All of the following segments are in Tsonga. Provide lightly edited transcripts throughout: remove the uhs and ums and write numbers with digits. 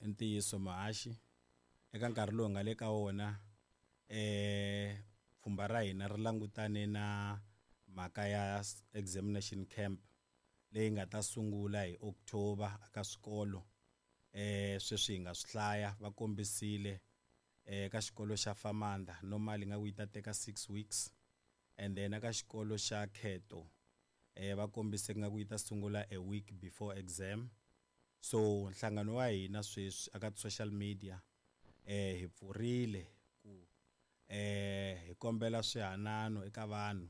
I ntiyiso muhaxi eka nkarhi lowu hi nga le ka wona pfhumba ra hina ri langutane na mhaka ya examination camp leyi nga ta sungula hi October eka swikolo. Sweswi hi nga swi hlaya va kombisile eka xikolo xa Famanda normally nga ku yi ta teka 6 weeks, and then eka xikolo xa Kheto va kombise nga ku yi ta sungula a week before exam. So nhlangano wa hina sweswi eka social media hi pfurile ku hi kombela swihanano eka vanhu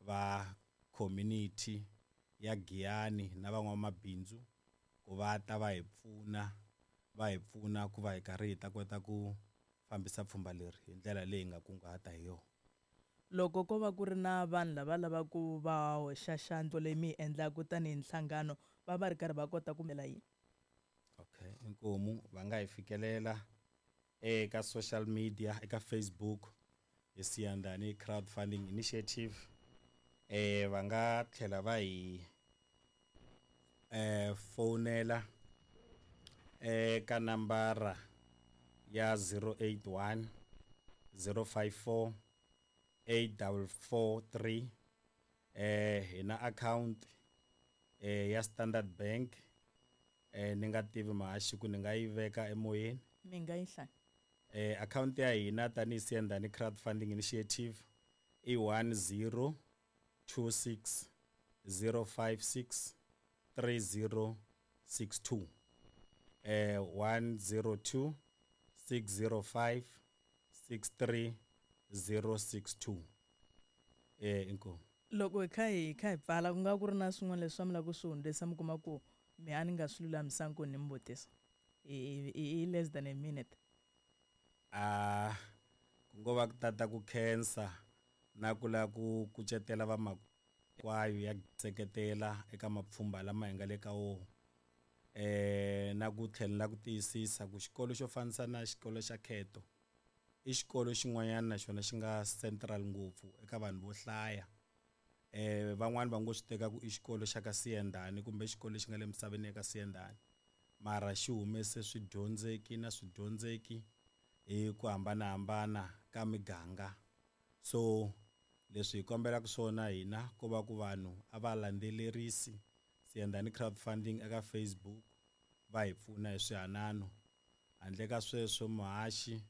va community ya Giyani na van'wamabindzu ku va ta va hi pfuna, va hi pfuna ku va hi karhi hi ta kota ku fambisa pfhumba leri hi ndlela leyi hi nga kunguhata hi yona. Loko ko va ku ri na vanhu lava lavaka va hoxa xandla leyi mi yi endlaka tanihi nhlangano, va va ri karhi va kota ku yini? Okay, inkomu va nga hi fikelela eka social media, eka Facebook hi Siyandhani Crowdfunding Initiative. Va nga tlhela va hi fonela eka nambara ya 081 054 8443. Hi na account ya Standard Bank. Ni nga tivi mahaxi ku ni nga yi veka emoyeni. Mi nga yi hlaya. Account ya hina tanihi Siyandhani Crowdfunding Initiative i 1026 056 3062. 102 605 63062. Inkomu. Loko hi kha hi kha hi pfala, ku nga ku ri na swin'wana leswi mi lava ku swi hundzisa, mi kuma ku mi a ni nga swi lulamisanga ku ni mi vutisa hi less than a minute. Ku ngo va ku tata ku khensa na ku lava ku kucetela vamakwayo ya seketela eka mapfhumba lama hi nga le ka wona. Na ku tlhela ku tiyisisa ku xikolo xo fanisa na xikolo xa Kheto i xikolo xin'wanyana na xona xi nga central ngopfu eka vanhu vo hlaya. Van'wani va ngo swi teka ku i xikolo xa ka Siyandhani kumbe xikolo lexi nga le misaveni ya ka Siyandhani, mara xi humese swidyondzeki na swidyondzeki hi ku hambanahambana ka miganga. So leswi hi kombelaka swona hina ko va ku vanhu a va landzelerisi Siyandhani Crowdfunding eka Facebook, va hi pfuna hi swihanano. Handle ka sweswo muhaxi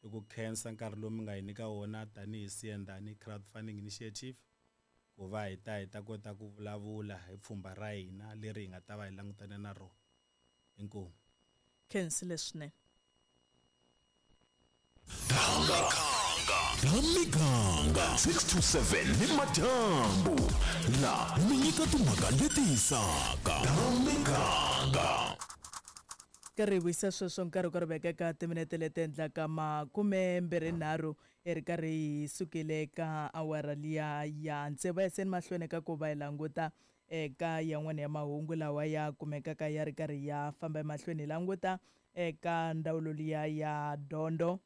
i ku khensa nkarhi lowu mi nga hi nyika wona tanihi Siyandhani Crowdfunding Initiative ku va hi ta hi ta kota ku vulavula hi pfhumba ra hina leri hi nga ta va hi langutane na rona. Inkomu. Khensile swinene. Ta miganga 6 to 7 ni madyambu la mi nyika timhaka leti hisaka. Ta miganga. Karhi hi vuyisa sweswo nkarhi ku ri veka eka timinete leti endlaka 23 hi ri karhi hi sukile ka awara liya ya tsevu. Yaseni mahlweni ka ku va hi languta eka yan'wana ya mahungu lawa ya kumekaka ya ri karhi ya famba emahlweni, hi languta eka ndzawulo liya ya dyondzo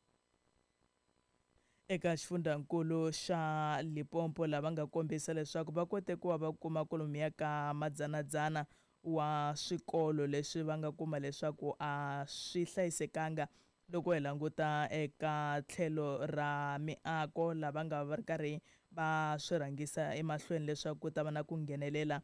eka xifundzankulu xa Limpopo, lava nga kombisa leswaku va kote ku va va kuma kwalomuya ka madzanadzana wa swikolo leswi va nga kuma leswaku a swi hlayisekanga loko hi languta eka tlhelo ra miako, lava nga va ri karhi va swi rhangisa emahlweni leswaku ku ta va na ku nghenelela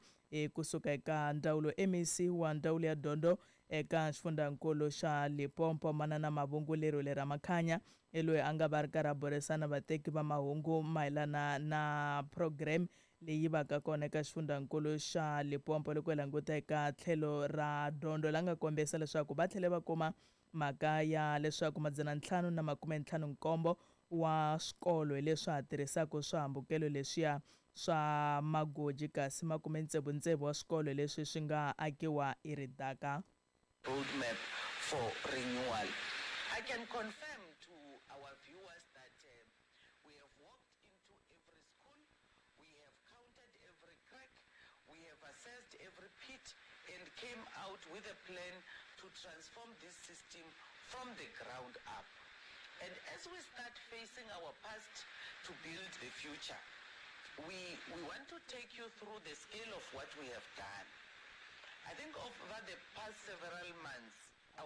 kusuka eka ndzawulo. MEC wa ndzawulo ya dyondzo eka xifundzankulu xa Limpopo, Manana Mavhungu Lerwele Ramakhanya, hi loyi a nga va ri karhi a burisana vateki va mahungu mayelana na program leyi vaka kona eka xifundzankulu xa Limpopo loko hi languta eka tlhelo ra dyondzo, la nga kombisa leswaku va tlhele va kuma mhaka ya leswaku 557 wa swikolo hi leswi ha tirhisaka swihambukelo leswiya swa magoji, kasi 66 wa swikolo leswi swi nga akiwa hi ridaka. Roadmap for renewal. I can confirm to our viewers that we have walked into every school, we have counted every crack, we have assessed every pit and came out with a plan to transform this system from the ground up. And as we start facing our past to build the future, we want to take you through the scale of what we have done. I think over the past several months,